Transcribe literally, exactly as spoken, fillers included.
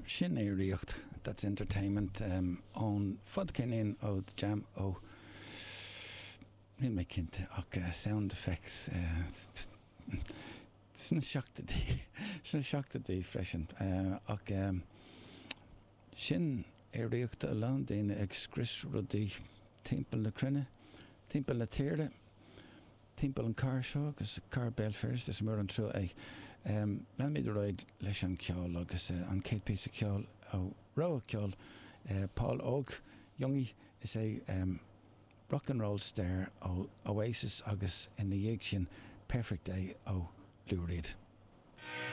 Sin aeraíocht, that's entertainment um, ón fadcheirnín ó The Jam ó níl mé cinnte ach uh, sound effects uh, sna seachtóidí sna seachtóidí freisin uh, ach um, sin aeraíocht a lán daoine ag scrios rudaí timpeall na cruinne, timpeall na tíre, timpeall an chathair seo agus cathair Béal Feirste is mór an trua é. Um, Leanfaimid ar aghaidh leis an ceol agus uh, an chéad píosa ceoil ó rogha ceoil uh, Paul Óg Jungi is é um, Rock and Roll Star ó Oasis agus ina dhiaidh sin Perfect Day ó Lou Reed.